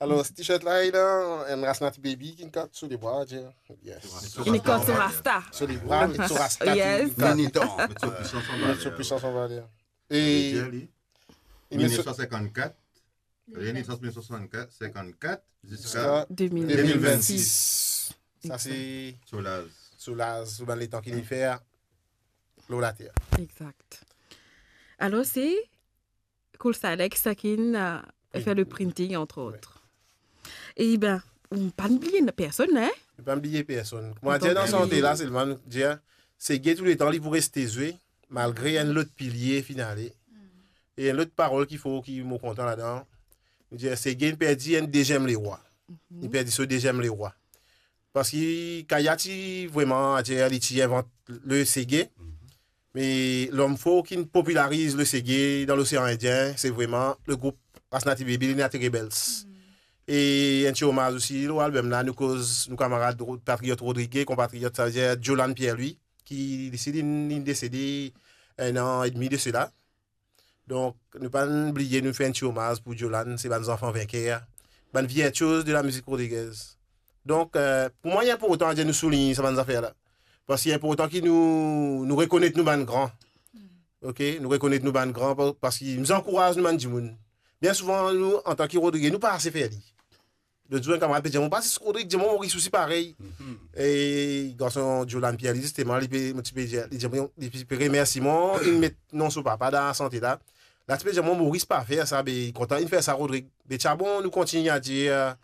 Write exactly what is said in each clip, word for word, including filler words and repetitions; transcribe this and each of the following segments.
Alor, ti-shirt la, li la, enn Rasnaty Baby ki inn kat so lebra, ti, yes. Inn kat so rasta. So lebra, met so rasta, yes. Inn kat. Militan. Met so pwisans an valer. Met so pwisans an valer. E li met so mil nef san sinkannkat, li nesans mil nef san sinkannkat, sinkannkat, ziska ziska de mil vennsis. De mil vennsis. Sa se so laz. So laz, so bann letan ki li fer lor later. Exact. Alor, se Cool Stylex, sa ki inn, euh, fer le printing, entre autres. E ben, ou pa bliye personn, hein? Nou pa bliye personn. Kouma dir, dan sante la, selman nou dir, Sege touletan li pou reste zwe, malgre enn lot pilie finn ale. E enn lot parol ki fo, ki mo kontan ladan, nou dir, Sege inn perdi enn deziem lerwa. Li perdi so deziem lerwa. Parski Kaya ti vreman, adir, li ti invant le sege. Me lom for ki'nn popilariz le sege dan Losean Indien, se vreman le group Rasnaty Baby, Lunatic Rebels. E enn ti omaz osi lor album la, nou koz nou kamarad Ro-, patriyot Rodrige, konpatriyot, savedir Jolan Pierre-Louis, ki li osi li, li desede enn an edmi de sela. Donk, nou pa bliye, nou fer enn ti omaz pou Jolan, se bann zanfan vinker, bann virtioz de lamizik rodrigez. Donk, euh, pou mwa, li inportan adir nou soulign sa bann zafer la. Parski li inportan ki nou, nou rekonet nou bann gran. Ok? Nou rekonet nou bann gran, pa-, parski nou ankouraz nou bann dimoun. Bien souvan, nou, antan ki Rodrige, nou pa ase fer li. Lot zour, enn kamarad pe dir mwa, "Pas Rodrig, dir mwa Moris osi parey." E garson Jolan Pierre, li, zisteman, li pe, mo ti pe dir, li dir mwa, li pe remersi mwa, li met non so papa dan lasante la. La ti pe dir mwa, "Moris pa fer sa, be kontan inn fer sa, Rodrig." Be ti a bon, nou kontign adir,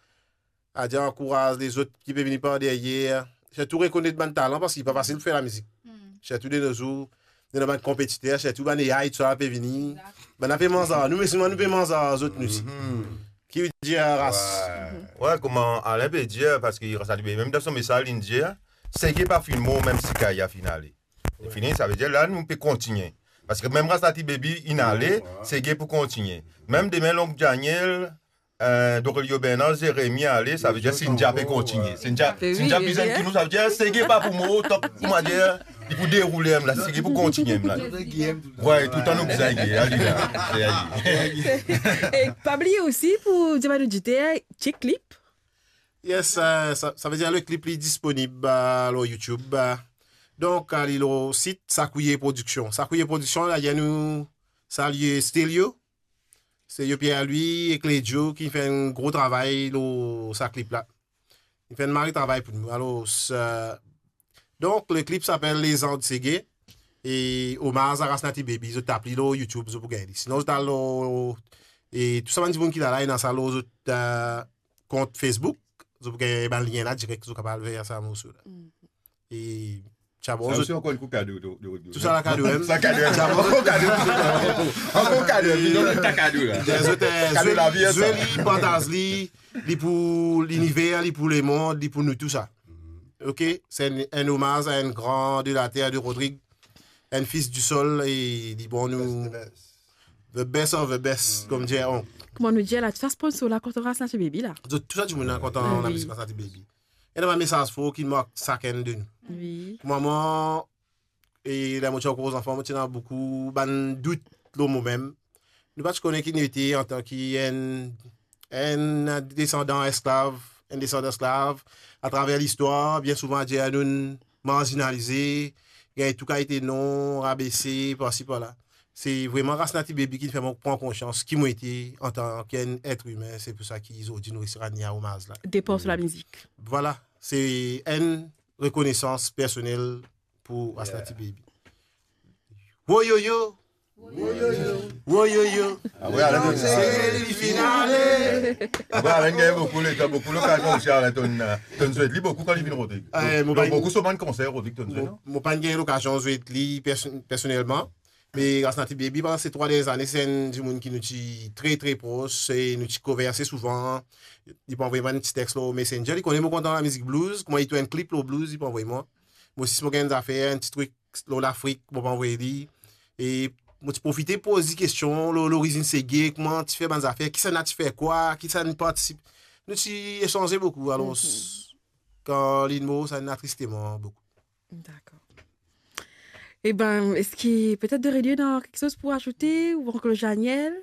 adir ankouraz lezot ki pe vini par deryer. Sirtou rekonet bann talan, parski li pa fasil pou fer lamizik. Sirtou de no zour, nou ena bann konpetiter, sirtou bann A I, tousala pe vini. Bann la pe manz ar nou, me si nou, nou pe manz ar zot, nou osi. Ki dir, Ras? Wi, kouma Alain pe dir, parski Rasnaty Baby, mem dan so mesaz, li dir, Sege pa finn mor, mem si Kaya finn ale. Li fini, savedir la, nou pe kontigne. Parski mem Rasnaty Baby inn ale, Sege pou kontigne. Mem demin, Onk Daniel, euh, Dorelio Bernard, Jérémy ale, savedir Sindia pe kontigne. Sindia, Sindia bizin ki nou, savedir Sege pa pou mor, tok, kouma dir, li pou deroule, la, Sege pou kontigne, la. Wi, touletan nou bizin Guy, ali la, se ali. E pa bliye osi pou dir bann oditer, chek klip. Yes, euh, sa, savedir le klip li disponib, euh, lor YouTube, euh. Donk, ale lor sit Sakouye Production. Sakouye Production, la, nou salie Stelio, Stelio Pierre-Louis ek Ledio ki fer enn gro travay lor sa klip la. Li fer enn mari travay pou nou. Alor, sa, donk, le klip s'appelle Les Ans de Sege, e omaz a Rasnaty Baby, zot tap li lor YouTube, zot pou gagn li. Sinon, zot al lor, e tou sa bann dimoun ki la la, ena sa lor zot, euh, kont Facebook, zot pou gagn bann lien la direk, zot kapav al ver sa morso la. E ti a bon, sa osi ankor enn kou kado, do, do, do. Tou sa la kado, hein? Sa kado, hein? Ti a bon, kado. Ankor kado, hein? Zot, euh, kado zwe, lavi, zwe sa. Li, partaz li, li pou liniver, li pou lemond, li pou nou tou sa. Ok? Se enn, enn omaz a enn gran de la terre de Rodrigue, enn fils du sol, e li bon nou the best of the best, kouma dir Onk. Kouma nou dir la, tou sa sponsor la kontan Rasnaty Baby la. Zot tou sa dimoun la kontan lamizik Rasnaty Baby. Ena bann mesaz for ki mark sakenn de nou. Wi. Pou mwa, mwa, e ler mo ti ankor zanfan, mo ti ena boukou bann dout lor momem. Nou pa ti kone ki nou ete antan ki enn, enn desandan esklav, enn desandan esklav. Atraver listwar, bien souvan, adir nou'nn marzinalize, gagn tou kalite non, rabese, parsi, parla. Se vreman Rasnaty Baby ki fer mwa pran konsians ki mo ete antan ki enn et imin. Se pou sa ki zordi nou resi rann li omaz la. Depar so lamizik. Vwala, se enn rekonesans personel pou Rasnaty Baby. Woyoyo! Woyoyo! Woyoyo! Ah wi, Alain, Sege li finn ale. Ah wi, Alain gagn boukou letan, boukou lokazion osi, Alain, to'nn, to'nn swet li boukou kan li vinn Rodrig. Eh, mo... Donk, pa boukou so bann konser Rodrig to'nn swet, non? Mo, mo pa'nn gagn lokazion swet li perso-, personelman. Me Rasnaty Baby, pandan se trwa dernie zane, se enn dimoun ki nou ti tre, tre pros, e nou ti konverse souvan. Li pou anvoy mwa enn ti text lor Messenger. Li kone mo kontan lamizik blues, kouma li tourn enn klip lor blues, li pou anvoy mwa. Mo osi, si mo gagn enn zafer, enn ti trik lor Lafrik, mo pou anvoy li. E mo ti profite poz li kestion lor lorizinn Sege, kouma ti fer bann zafer, kisannla ti fer kwa, kisannla partisip. Nou ti esanze boukou, alor, kan linn mor, sa inn atriste mwa boukou. Dakor. Eben, eski petet Dorelio ena kiksoz pou azoute, ou ankor Daniel?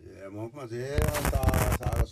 Eh, mwa, kouma dir, sa, sa,